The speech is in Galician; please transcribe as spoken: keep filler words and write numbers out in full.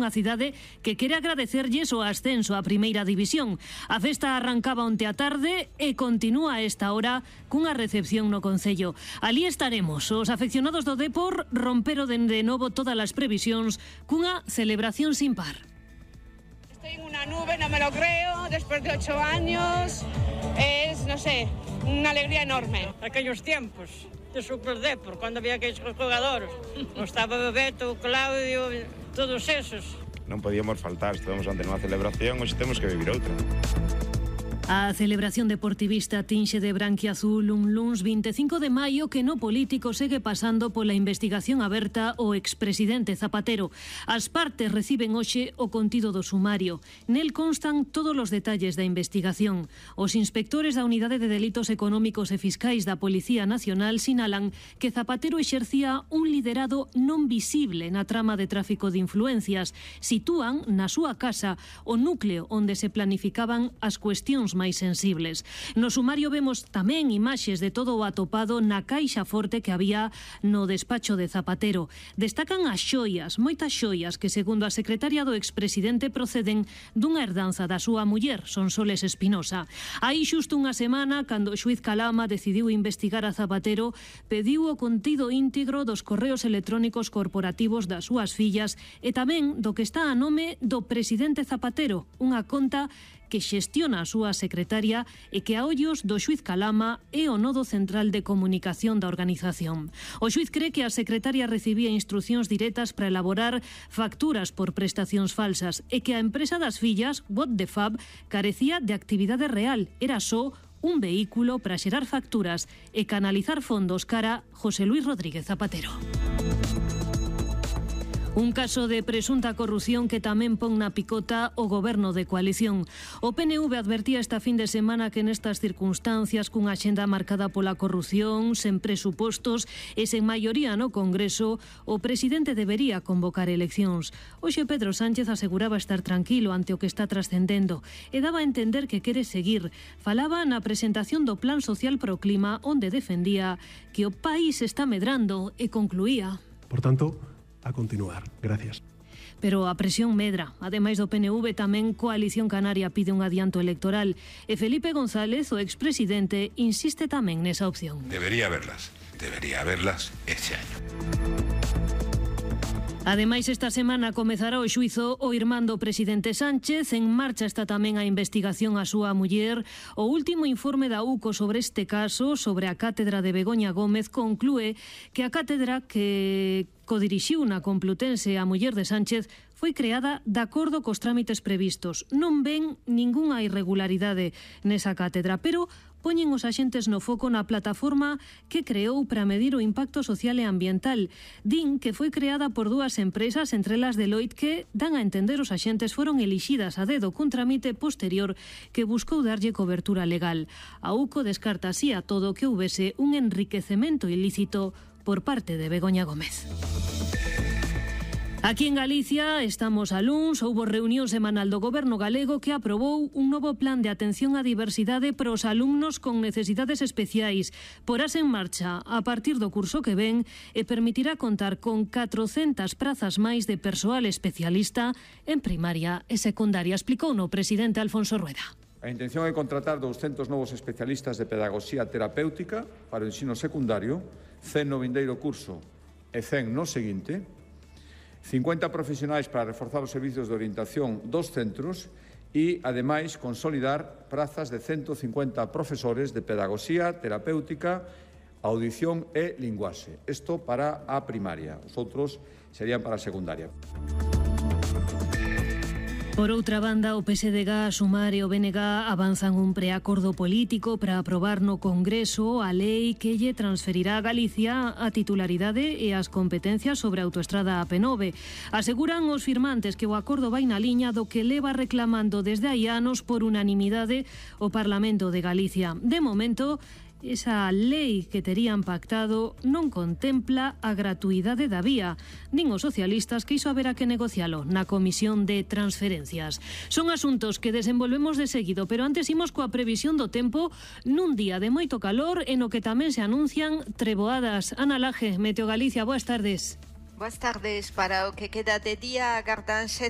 unha cidade que quere agradecerlles o ascenso á primeira división. A festa arrancaba onte a tarde e continúa a esta hora cunha recepción no Concello. Alí estaremos. Os afeccionados do Depor romperon de novo todas as previsións cunha celebración sin par. Estoy en una nube, no me lo creo, después de ocho años, es, no sé, una alegría enorme. Aquellos tiempos de Super Depor, cuando había aquellos jugadores, estaba Bebeto, Claudio, todos esos. Non podíamos faltar, estivemos ante unha celebración, hoxe temos que vivir outra. A celebración deportivista tinxe de branquiazul un luns vinte e cinco de maio que no político segue pasando pola investigación aberta o expresidente Zapatero. As partes reciben hoxe o contido do sumario. Nel constan todos os detalles da investigación. Os inspectores da Unidade de Delitos Económicos e Fiscais da Policía Nacional sinalan que Zapatero exercía un liderado non visible na trama de tráfico de influencias. Sitúan na súa casa o núcleo onde se planificaban as cuestións máis sensibles. No sumario vemos tamén imaxes de todo o atopado na caixa forte que había no despacho de Zapatero. Destacan as xoias, moitas xoias que, segundo a secretaria do expresidente, proceden dunha herdanza da súa muller, Sonsoles Espinosa. Aí xusto unha semana, cando o xuiz Calama decidiu investigar a Zapatero, pediu o contido íntegro dos correos electrónicos corporativos das súas fillas e tamén do que está a nome do presidente Zapatero, unha conta que xestiona a súa secretaria e que a ollos do xuiz Calama é o nodo central de comunicación da organización. O xuiz cree que a secretaria recibía instruccións directas para elaborar facturas por prestacións falsas e que a empresa das fillas, What the Fab, carecía de actividade real, era só un vehículo para xerar facturas e canalizar fondos cara José Luis Rodríguez Zapatero. Un caso de presunta corrupción que tamén pon na picota o goberno de coalición. O P N V advertía esta fin de semana que nestas circunstancias, cunha axenda marcada pola corrupción, sen presupostos e sen maioría no Congreso, o presidente debería convocar eleccións. Hoxe Pedro Sánchez aseguraba estar tranquilo ante o que está trascendendo e daba a entender que quere seguir. Falaba na presentación do Plan Social pro Clima, onde defendía que o país está medrando e concluía: Por tanto, a continuar. Gracias. Pero a presión medra. Ademais do P N V, tamén Coalición Canaria pide un adianto electoral e Felipe González, o expresidente, insiste tamén nesa opción. Debería haberlas, debería haberlas este año. Ademais, esta semana comezará o xuizo o irmán do presidente Sánchez. En marcha está tamén a investigación a súa muller. O último informe da U C O sobre este caso, sobre a cátedra de Begoña Gómez, conclúe que a cátedra que codirixiu na Complutense a muller de Sánchez foi creada de acordo cos trámites previstos. Non ven ningunha irregularidade nesa cátedra, pero poñen os axentes no foco na plataforma que creou para medir o impacto social e ambiental. Din que foi creada por dúas empresas, entre elas Deloitte, que dan a entender os axentes foron elixidas a dedo cun trámite posterior que buscou darlle cobertura legal. A U C O descarta así a todo que houbese un enriquecemento ilícito por parte de Begoña Gómez. Aquí en Galicia estamos a luns, houbo reunión semanal do Goberno galego que aprobou un novo plan de atención á diversidade para os alumnos con necesidades especiais. Porás en marcha a partir do curso que ven e permitirá contar con catrocentas prazas máis de persoal especialista en primaria e secundaria, explicou no presidente Alfonso Rueda. A intención é contratar douscentos novos especialistas de pedagogía terapéutica para o ensino secundario, cen no vindeiro curso e cen no seguinte, cincuenta profesionais para reforzar os servizos de orientación dos centros e, ademais, consolidar prazas de ciento cincuenta profesores de pedagogía, terapéutica, audición e linguaxe. Isto para a primaria, os outros serían para a secundaria. Por outra banda, o P S D G, a Sumar e o B N G avanzan un preacordo político para aprobar no Congreso a lei que lle transferirá a Galicia a titularidade e as competencias sobre a autoestrada A P nove. Aseguran os firmantes que o acordo vai na liña do que leva reclamando desde hai anos por unanimidade o Parlamento de Galicia. De momento, esa lei que terían pactado non contempla a gratuidade da vía, nin os socialistas que iso haberá que negocialo na Comisión de Transferencias. Son asuntos que desenvolvemos de seguido, pero antes imos coa previsión do tempo nun día de moito calor e no que tamén se anuncian treboadas. Ana Laje, Meteo Galicia, boas tardes. Boas tardes. Para o que queda de día, agardanse